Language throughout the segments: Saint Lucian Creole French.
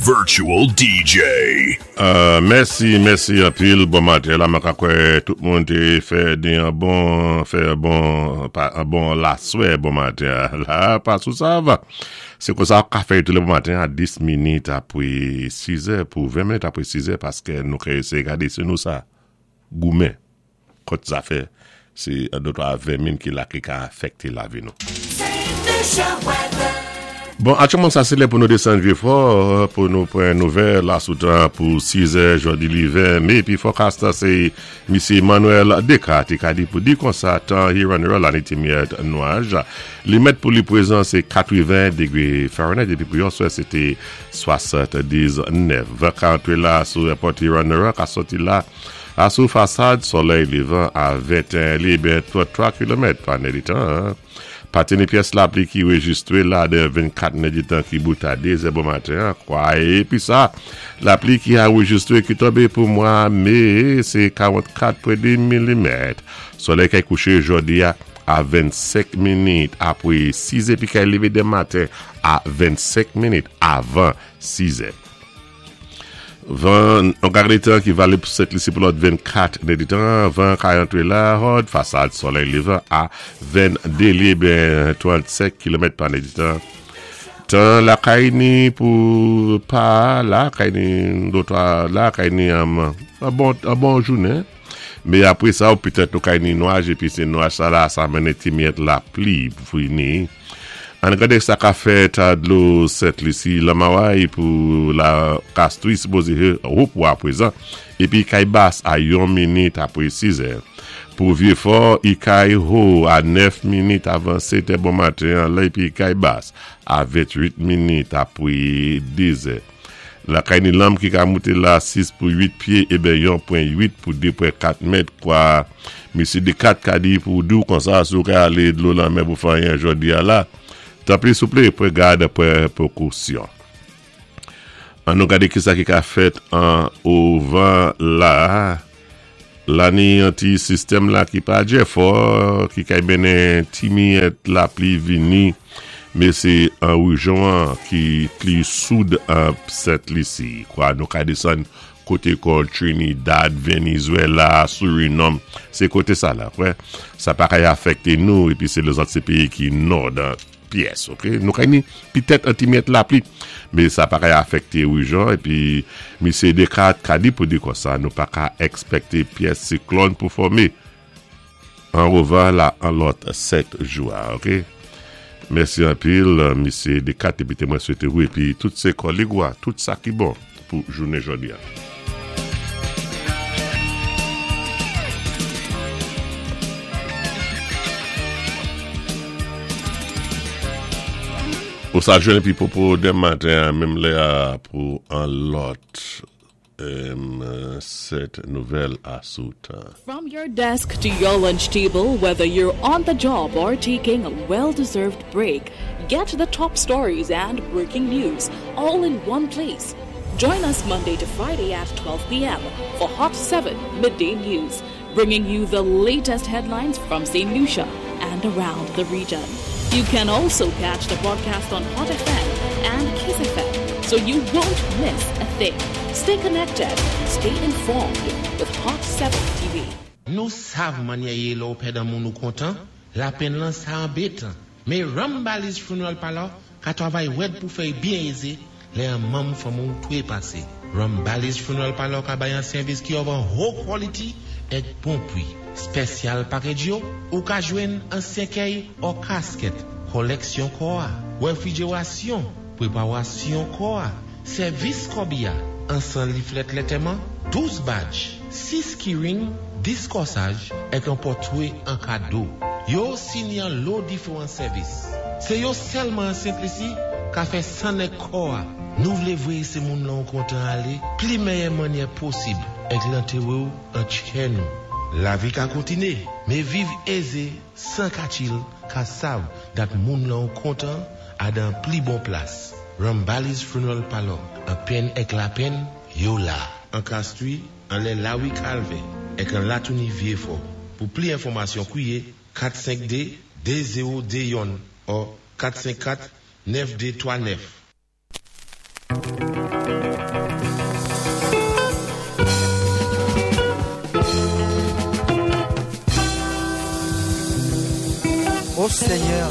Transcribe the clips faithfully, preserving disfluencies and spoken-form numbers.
Virtual D J. Euh, mèsi, mèsi anpil. Bon maten. La, mwen kwè tout moun té fè yon bon, fè bon, pa, yon bon laswè bon maten. La, pa sou sa va. Sé konsa ka fè tou lé bon maten a dis minit apwé sis è pou ven minit apwé sis è paské nou sé gadé sé nou sa goumen kont zafè sé de twa vèmin ki la ki ka afèkté lavi nou. Bon, aktyèlman sa sé lè pou nou désann Vyéfò, pou nou pran nouvèl la sou tan pou sis è jòdi li ven mé, épi forecast sé Misyé Emmanuel Descartes ki ka di pou di konsa tan Huron la ni ti miyèt nwaj. Li mèt pou li pwézan sé katreven dégwé Fahrenheit épi pou yèswa sé té swasanndisnèf. Van ka antré la sou airport Huron ka sòti la a sou fasad solèy lévan a venteyen li byen tranntwa kilomèt pa nèditan. Pa té ni pyès lapli ki rejistwé la de vennkat nèditan ki bout a de zè bon maten, kwa. Épi sa, lapli ki anrejistwé ki tonbé pou mwa mé, sé karannkat pwen de milimèt. Solèy ki kouché jòdi a a vennsenk minit apwé sis épi ki lévé denmen maten a vennsenk minit avan sis è. Van, an gade tan ki valib pou Sent Lisi pou lòt vennkat nèditan, van ka antré la, hòd, fasad solèy lévan a venndé li ben trannsenk kilomèt pa nèditan. Tan lakay ni pou pa la kay ni dotwa la kay ni um, an bon, an bon jounen. Mé apwé sa ou petèt nou kay ni nwaj épi sé nwaj sa la sa mennen ti miyèt lapli pou ni. Ann gadé sa ka fèt a dlo Sent Lisi Lamaway pou la Castries sipozé ho pou apwézan épi kay bas a yon minit apwé sis è. Pou Vyéfò, i kay ho a nèf minit avan sèt è bon maten la épi kay bas a ventwit minit apwé de zè. Lakay ni lanm ki ka mouté la sis pou wit pyé é ben yon pwen wit pou de pwen kat mèt kwa. Misyé Dekat ka di pou di ou konsa si ou ka alé dlo lanmè pou fè anyen jòdi a la. Tanpri souplé, pran gad, pran pwékosyon. An nou gadé ki sa ki ka fèt an ovan la. La ni an ti sistèm la ki pa djè fò, ki kay mennen ti miyèt lapli vini, mé sé an rejyon an ki pli soud an Sent Lisi. Kwa nou ka désann koté kon Trinidad, Venezuela, Suriname, sé koté sa la, wè. Sa pa kay afèkté nou, épi sé lèzòt sé péyi ki nò dan pyès, ok? Nou kay ni pitèt an ti miyèt lapli, mé sa pa kay afèkté rejyon, épi Misyé Descartes ka di pou di konsa, nou pa ka èkspèkté pyès siklòn pou fòmé an ovan la an lòt sèt jou, ok? Mèsi anpil, Misyé Descartes, épi té mwen swété ou, épi tout sé kòlèg ou, tout sa ki bon pou jounen jòdi a. Ou sa jwenn épi popo denmen maten, menm lè a pou an lòt euh, sèt nouvèl a sou tan. From your desk to your lunch table, whether you're on the job or taking a well deserved break, get the top stories and breaking news all in one place. Join us Monday to Friday at twelve p m for Hot seven Midday News, bringing you the latest headlines from Saint Lucia and around the region. You can also catch the broadcast on Hot F M and Kiss F M, so you won't miss a thing. Stay connected, stay informed with Hot seven T V. Nou sav mannyè yé lè ou pèd an moun ou kontan, lapenn lan sa anbétan. Mé Rambali's Funeral Parlor ka twavay wèd pou fè byen ézé lè an manm fanmi ou twé pasé. Rambali's Funeral Parlor ka bay an sèvis ki of an ho quality èk bon pwi. Special package yo, ou ka jwenn an sèkèy ou casket, kolèksyon kò a, wéfrijérasyon, pwéparasyon kò a, sèvis kòbiya, an san leaflet lantèman, douz badge, sis keyring, dis kòsaj, èk an pòtwé an kado. Yo sini an lo diféwan sèvis. Sé yo sèlman an Sent Lisi ka fè san èk kò a. Nou vlé vwéyé sé moun lan ou kontan alé, pli méyè mannyè posib, èk lantéré ou an tchè nou. Lavi ka kontiné, mé viv ézé, san katchil, ka sav dat moun lan ou kontan a dan pli bon plas. Rambali's Funeral Parlor, an penn èk lapenn, yo la. An Castries, anlè Lawi Kalvè, èk an Latouni Vyéfò. Pou pli enfòmasyon kwiyé kat senk de de zewo de youn ou kat senk kat nèf de twa nèf. Ô Seyè,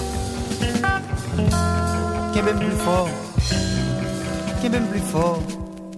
kenbé-m pli fò, kenbé-m pli fò.